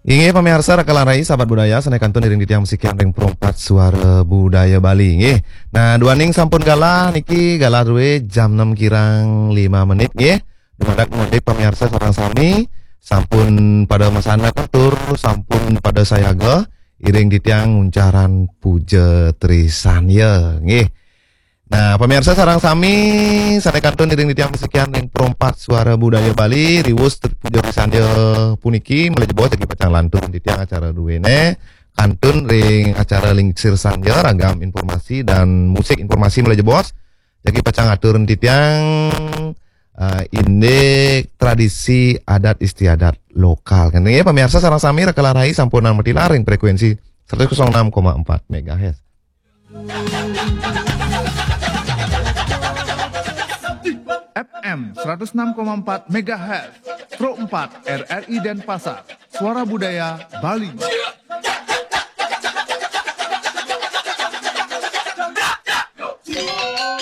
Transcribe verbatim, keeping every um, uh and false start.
Inggih pamiarsa Raka lan Rai sahabat budaya sané kantun iring titiang masikian ring Perumpat Suara Budaya Bali nggih. Nah, duaning sampun galah niki galah drué jam enam kirang lima menit nggih. Dumadak mudik pamiarsa sareng sami sampun pada masandak tur sampun pada sayaga iring titiang nguncarang puja trisandya nggih. Nah, pamiarsa sareng sami sané kantun iring titiang masikian ring Perumpat Suara Budaya Bali, riwus puja trisandya puniki malih jebos jagi pacang lantur titiang acara druéné kantun ring acara Lingsir Sandya, ragam informasi dan musik informasi malih jebos jagi pacang atur titiang eh, indik tradisi adat istiadat lokal. Kan ya pamiarsa sareng sami Raka lan Rai sampunang matilar ring frekuensi seratus enam koma empat megahertz. F M seratus enam koma empat megahertz, Pro empat R R I Denpasar, Suara Budaya Bali.